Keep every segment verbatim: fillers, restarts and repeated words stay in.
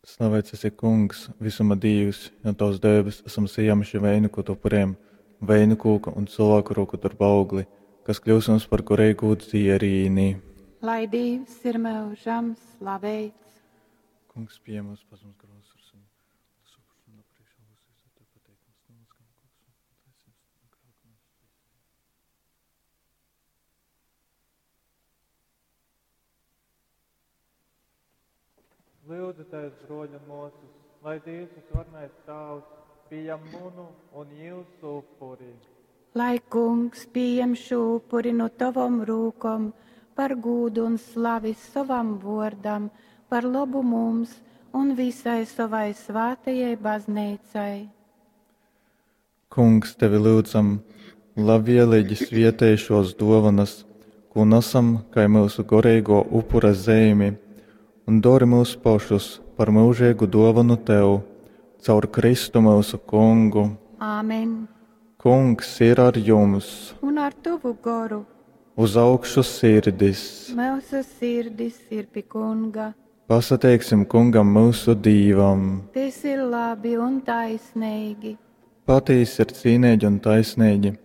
Slavēts esi, Kungs, visuma Dīvs, jo tavs dēbes esam sajēmuši veinu, ko tu upurējam, veinu kūka un cilvēku roku darba augli, kas kļūs mums par garīgu dzierīni. Lai Dievs ir mūžam slavēts. Kungs, pieņem mūsu pazemes grozus ar sunu. Lūdzu, broļi un māsas, lai Dievs visvarenais Tēvs pieņem manu un jūsu upuri. Lai Kungs pieņem šo upuri no tavom rūkom par gūdu un slavi savam vārdam, par labu mums un visai savai svētajai baznīcai. Kungs, tevi lūdzam, labvēlīgi svietēj šos dovanas, ko nesam kai mūsu garīgo upura zīmi, un dori mūs pašus par mūžīgu dovanu tev, caur Kristu mūsu Kungu. Āmen. Kungs ir ar jums, Un ar tavu goru uz augšu sirdis. mūsu sirdis ir pie Kunga. Pasateiksim Kungam mūsu Dīvam. Tas ir labi un taisnīgi. Patīsi ir cīnīgi un taisnīgi,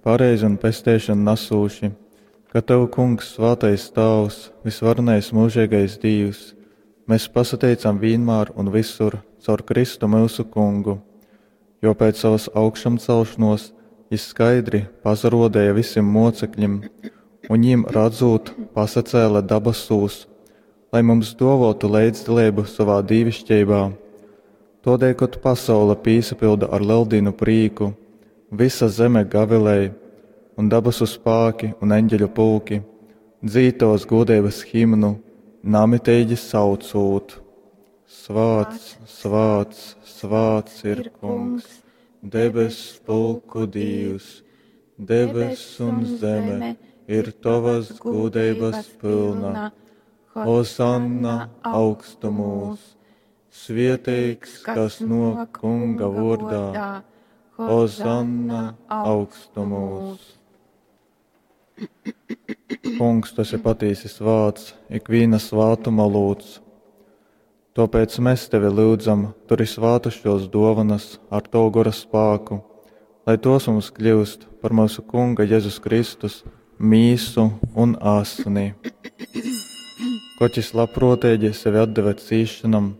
pareizi un pestēšanu nesūši, ka tev, Kungs, svētais Tēvs, visvarenais mūžīgais Dievs, mēs pasateicam vienmēr un visur caur Kristu mūsu Kungu, jo pēc savas augšamcelšanos jis skaidri pazarodēja visiem mocekļiem, un viņiem redzot, pasacēla dabasūs, lai mums dovotu līdzdalību savā dīvišķībā. Todēļ, kad pasaule pīsapilda ar leldīnu prīku, visa zeme gavilēja, un dabasu spāki un eņģeļu pulki dzītos godības himnu, namitīgi saucūt: Svāts, svāts, svāts ir Kungs, debes pulku Dievs, debes un zeme ir tavas gudrības pilna. Hosanna augstumos, svieteigs, kas no Kunga vārdā. Hosanna augstumos. Kungs, tu esi patiesi svāts, ikviena svātuma lūdz. Tāpēc mēs tevi lūdzam, turi svātu šos dovanas ar tavu gora spēku, lai tos mums kļūst par mūsu Kunga Jēzus Kristus mīsu un asni. Koķis jis labprātīgi sevi atdeva cīšanam,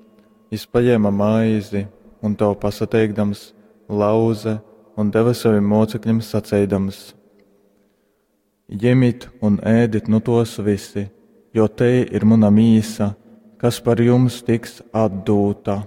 jis paņēma maizi un tev pasateikdams, lauze un deva saviem mocekļiem saceidams: Ņemiet un ēdit nu tos visi, jo te ir mana mīsa, kas par jums tiks atdūta.